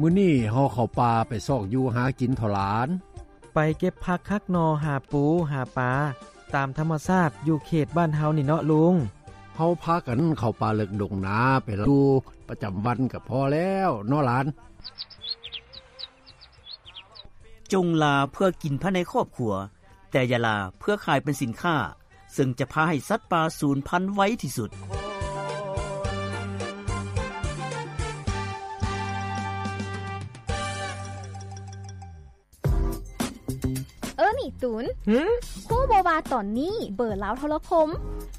ມື້ນີ້ເຮົາເຂົ້າປ່າໄປຊອກຢູ່ຫາກິນເຖາະຫຼານ. ໄປເກັບຜັກຫັກໜໍ່ ຫາປູ ຫາປາ ຕາມທຳມະຊາດຢູ່ເຂດບ້ານເຮົານີ້ເນາະລຸງ. ເຮົາພາກັນເຂົ້າປ່າເລິກດົງນາໄປຢູ່ປະຈຳວັນກໍພໍແລ້ວເນາະຫຼານ. ຈົ່ງລາເພື່ອກິນພາຍໃນຄອບຄົວ, ແຕ່ຢ່າລາເພື່ອຂາຍເປັນສິນຄ້າ, ເຊິ່ງຈະພາໃຫ້ສັດປ່າສູນພັນໄວທີ່ສຸດ. ເອີ ນີ້ຕູນ. ຫື? ຮູ້ບໍ່ວ່າຕອນນີ້ເບີລາວໂທລະຄົມ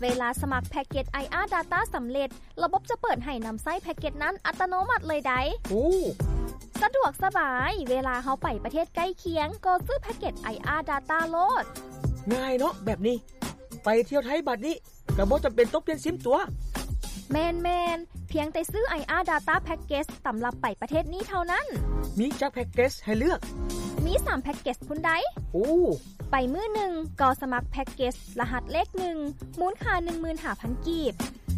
ເວລາສະໝັກແພັກເກັດໄອອາດດາຕ້າສຳເລັດ, ລະບົບຈະເປີດໃຫ້ນຳໃຊ້ແພັກເກັດນັ້ນອັດຕະໂນມັດເລີຍໃດ໋. ໂອ້ ສະດວກສະບາຍ, ເວລາເຮົາໄປປະເທດໃກ້ຄຽງ ກໍຊື້ແພັກເກັດໄອອາດດາຕ້າໂລດ. ງ່າຍເນາະແບບນີ້. ໄປທ່ຽວໄທບາດນີ້ ກໍບໍ່ຈຳເປັນຕ້ອງປ່ຽນຊິມຕົວະ. ແມ່ນໆ, ພຽງແຕ່ຊື້ໄອອາດດາຕ້າແພັກເກັດສຳລັບໄປປະເທດນີ້ເທົ່ານັ້ນ. ມີຈັກແພັກເກັດສໃຫ້ເລືອກ? ມີສາມແພັກເກັດສພຸ້ນໃດ໋. ໂອ້ ໄປມື້ໜຶ່ງກໍສະໝັກແພັກເກັດສລະຫັດເລກໜຶ່ງ ມູນຄ່າໜຶ່ງໝື່ນຫ້າພັນກີບ.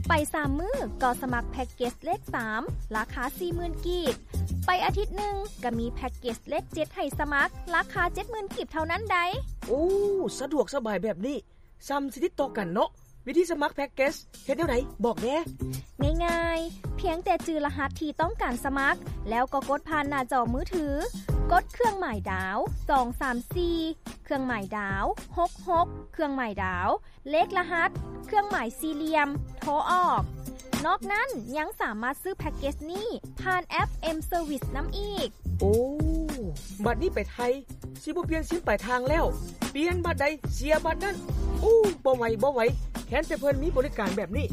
ໄປສາມມື້ກໍສະໝັກແພັກເກັດສເລກສາມ ລາຄາສີ່ໝື່ນກີບ. ໄປອາທິດໜຶ່ງກໍມີແພັກເກັດສເລກເຈັດໃຫ້ສະໝັກ ລາຄາເຈັດໝື່ນກີບເທົ່ານັ້ນໃດ໋. ໂອ້ ສະດວກສະບາຍແບບນີ້. ສ່ຳຊິຕິດຕໍ່ກັນເນາະ. ວິທີສະໝັກແພັກເກັດສເຮັດແນວໃດ? ບອກແດ່. ງ່າຍໆ, ພຽງແຕ່ຈື່ລະຫັດທີ່ຕ້ອງການສະໝັກ ແລ້ວກໍກົດຜ່ານໜ້າຈໍມືຖື, ກົດເຄື່ອງໝາຍດາວ ສອງສາມສີ່ ເຄື່ອງໝາຍດາວ ຫົກຫົກ ເຄື່ອງໝາຍດາວ ເລກລະຫັດ ເຄື່ອງໝາຍສີ່ຫຼ່ຽມ ໂທອອກ. ນອກນັ້ນຍັງສາມາດຊື້ແພັກເກັດສນີ້ຜ່ານແອັບ M-Service ນຳອີກ. ໂອ້ ບັດນີ້ໄປໄທ ຊິບໍ່ປ່ຽນຊິມປາຍທາງແລ້ວ, ປ່ຽນບັດໃດເສຍບັດນັ້ນ. ໂອ້ ບໍ່ໄຫວ ບໍ່ໄຫວ, ແຄ້ນແຕ່ເພິ່ນມີບໍລິການແບບນີ້.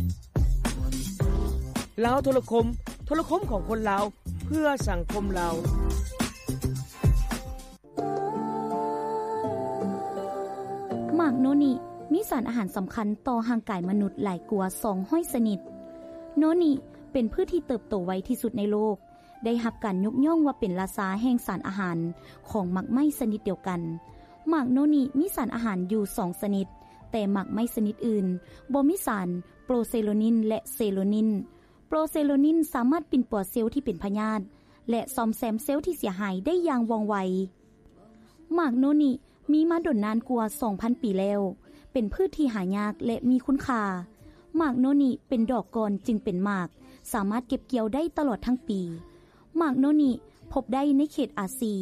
ລາວໂທລະຄົມ, ໂທລະຄົມຂອງຄົນລາວ ເພື່ອສັງຄົມລາວ. ໝາກໂນນິມີສານອາຫານສຳຄັນຕໍ່ຮ່າງກາຍມະນຸດຫຼາຍກວ່າສອງຮ້ອຍຊະນິດ. ໂນນິເປັນພືດທີ່ເຕີບໂຕໄວທີ່ສຸດໃນໂລກ. ໄດ້ຮັບການຍົກຍ້ອງວ່າເປັນລາຊາແຫ່ງສານອາຫານຂອງໝາກໄມ້ຊະນິດດຽວກັນ. ໝາກໂນນິມີສານອາຫານຢູ່ສອງຊະນິດ, ແຕ່ໝາກໄມ້ຊະນິດອື່ນບໍ່ມີສານໂປຣເຊໂຣນິນ ແລະ ເຊໂຣນິນ. ໂປຣເຊໂຣນິນສາມາດປິ່ນປົວເຊວທີ່ເປັນພະຍາດ ແລະ ສ້ອມແຊມເຊວທີ່ເສຍຫາຍໄດ້ຢ່າງວ່ອງໄວ. ໝາກໂນນິ ມີມາດົນນານກວ່າສອງພັນປີແລ້ວ, ເປັນພືດທີ່ຫາຍາກ ແລະ ມີຄຸນຄ່າ. ໝາກໂນນິເປັນດອກກ່ອນຈຶ່ງເປັນໝາກ, ສາມາດເກັບກ່ຽວໄດ້ຕະຫຼອດທັງປີ. ໝາກໂນນິພົບໄດ້ໃນເຂດອາຊີ,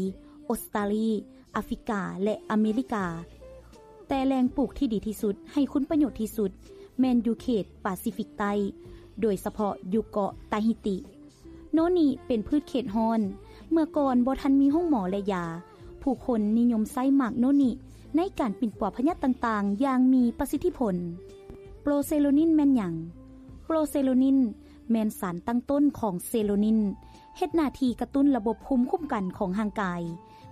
ອົດສະຕາລີ, ອາຟຣິກາ ແລະ ອາເມລິກາ, ແຕ່ແຫຼ່ງປູກທີ່ດີທີ່ສຸດ, ໃຫ້ຄຸນປະໂຫຍດທີ່ສຸດ ແມ່ນຢູ່ເຂດປາຊີຟິກໃຕ້, ໂດຍສະເພາະຢູ່ເກາະຕາຮີຕີ. ໂນນິເປັນພືດເຂດຮ້ອນ. ເມື່ອກ່ອນບໍ່ທັນມີໂຮງໝໍ ແລະ ຢາ, ຜູ້ຄົນນິຍົມໃຊ້ໝາກໂນນິໃນການປິ່ນປົວພະຍາດຕ່າງໆຢ່າງມີປະສິດທິຜົນ. ໂປຣເຊໂຣນິນແມ່ນຫຍັງ? ໂປຣເຊໂຣນິນແມ່ນສານຕັ້ງຕົ້ນຂອງເຊໂຣນິນ, ເຮັດໜ້າທີ່ກະຕຸ້ນລະບົບພູມຄຸ້ມກັນຂອງຮ່າງກາຍ,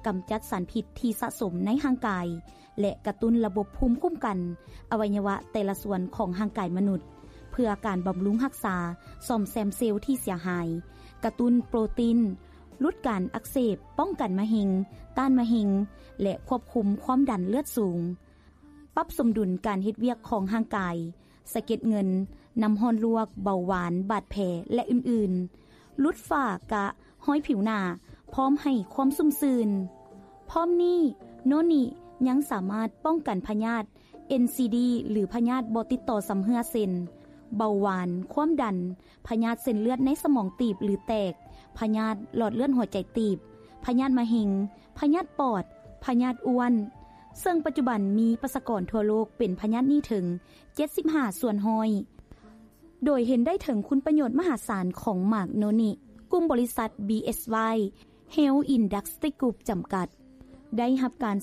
ກຳຈັດສານພິດທີ່ສະສົມໃນຮ່າງກາຍ, ແລະ ກະຕຸ້ນລະບົບພູມຄຸ້ມກັນອະໄວຍະວະແຕ່ລະສ່ວນຂອງຮ່າງກາຍມະນຸດ ເພື່ອການບຳລຸງຮັກສາ, ສ້ອມແຊມເຊວທີ່ເສຍຫາຍ, ກະຕຸ້ນໂປຣຕີນ, ຫຼຸດການອັກເສບ, ປ້ອງກັນມະເຮັງ, ຕ້ານມະເຮັງ ແລະ ຄວບຄຸມຄວາມດັນເລືອດສູງ, ປັບສົມດຸນການເຮັດວຽກຂອງຮ່າງກາຍ, ສະເກັດເງິນ, ນ້ຳຮ້ອນລວກ, ເບົາຫວານ, ບາດແຜ ແລະ ອື່ນໆ, ຫຼຸດຝ້າກະ, ຮອຍຜິວໜ້າ, ພ້ອມໃຫ້ຄວາມຊຸ່ມຊື່ນ. ພ້ອມນີ້, ໂນນິຍັງສາມາດປ້ອງກັນພະຍາດ ເອັນຊີດີ ຫຼື ພະຍາດບໍ່ຕິດຕໍ່ຊຳເຮື້ອ ເຊັ່ນ ເບົາຫວານ, ຄວາມດັນ, ພະຍາດເສັ້ນເລືອດໃນສະໝອງຕີບ ຫຼື ແຕກ, ພະຍາດຫຼອດເລືອດຫົວໃຈຕີບ, ພະຍາດມະເຮັງ, ພະຍາດປອດ, ພະຍາດອ້ວນ, ເຊິ່ງປັດຈຸບັນມີປະຊາກອນທົ່ວໂລກເປັນພະຍາດນີ້ເຖິງເຈັດສິບຫ້າສ່ວນຮ້ອຍ. ໂດຍເຫັນໄດ້ເຖິງຄຸນປະໂຫຍດມະຫາສານຂອງໝາກໂນນິ, ກຸ່ມບໍລິສັດ ບີເອສວາຍ Health Industry Group ຈຳກັດ ໄດ້ຮັບການ